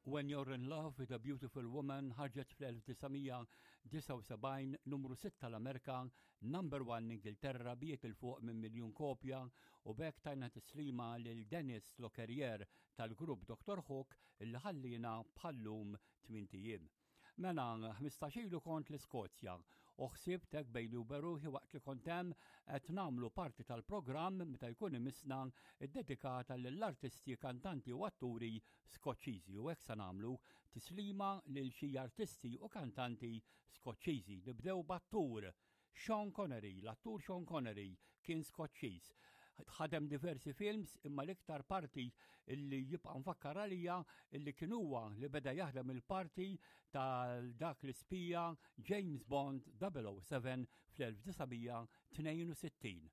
When You're in Love with a Beautiful Woman ħarġet fl-1979 numru 6 tal-Amerika, number 1 l-Ingilterra biet il fuq minn miljun kopja u b'hekk tajna tislima lil Dennis Lockerier tal-grupp Dr. Hook li ħallina bħallum tmint ijiem. Mela, 15 ilu kont l-Iskozja u ħsibt hekk bejni u beruħi waqt li kont hemm qed nagħmlu parti tal-programm meta jkun imissna ddedikata lill-artisti, kantanti u atturi Skoċċiżi u hekk sa nagħmlu tislima lil xi artisti u kantanti Skoċċiżi. Nibdew b'attur Sean Connery, l-attur Sean Connery kien Skoċċiż. Ħadem diversi films imma l-iktar parti li jibqa' mfakkar għalija li kien huwa li beda jaħdem il-parti tal dak l-ispija James Bond 007 fl-1962.